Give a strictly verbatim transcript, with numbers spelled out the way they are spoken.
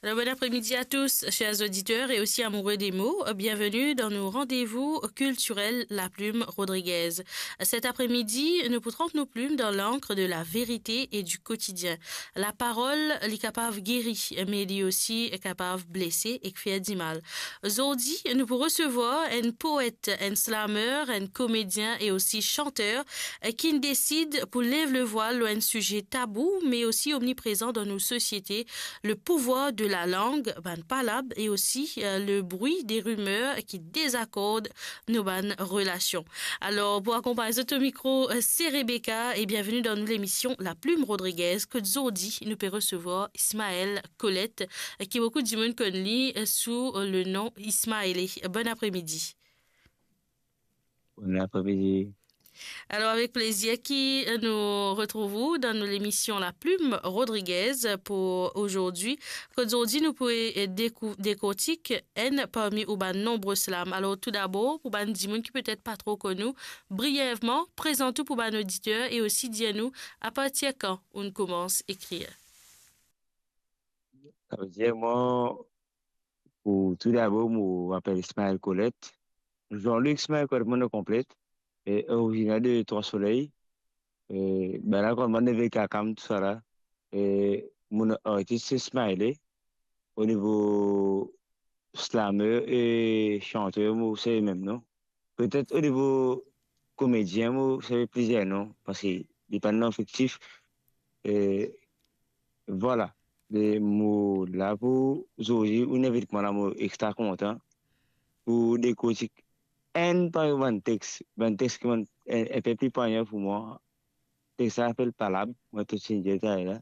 Alors, bon après-midi à tous, chers auditeurs et aussi amoureux des mots. Bienvenue dans nos rendez-vous culturels La Plume Rodriguez. Cet après-midi, nous pourrons nous plume dans l'encre de la vérité et du quotidien. Laparol, li kapav geri, me li osi kapav blese ek fer dimal. Zordi, nou pou resevwar enn poet, enn slameur, enn komedien e osi santer, eh, ki'nn desid pou lev le vwal lor enn size tabou, me osi omniprezan dan nou sosiete, le pouvwar de la lang, bann palab, e osi, eh, le bri de rimer ki dezakord nou bann relasion. Alor, pou akonpagn zot o mikro, eh, se Rebecca, e bienveni dan nou lemision La Plume Rodriguez, kot zordi nou pe resevwar Ismaël Colette, eh, ki boukou dimoun konn li, eh, sou, eh, le nom Ismaël. Bon après-midi. Bon après-midi. Alor, avek plezir ki, eh, nou retrouv ou dan nou lemision La Plume Rodriguez pou zordi. Kot zordi nou pou, eh, dekou-, dekortik enn parmi ou bann nonbre slam. Alor, toudabor, pou bann dimoun ki petet pa tro konn ou, briyevman, prezant ou pou bann oditer e osi dir nou apartir kan ou'nn koumans ekrir. Savedir, mwa, pou toudabor, mo apel Ismaël Colette. Jean-Luc Ismaël Colette, mo nom konple, e originer de Trois Soleils. E, ben la, kan mo neve Kakam, tousala, e mo nom artis se Smiley. O nivo slameur e santer, mo servi mem nom. Petet o nivo komedien, mo servi plizier nom, parski li pa enn nom fiktif. E vwala. E mo la pou zordi, ou'nn invit mwa la, mo extra kontan pou dekortik enn parmi bann text, bann text ki bann, enn, enn pe pli panyar pou mwa. Text la apel Palab, mo to ti dir tala.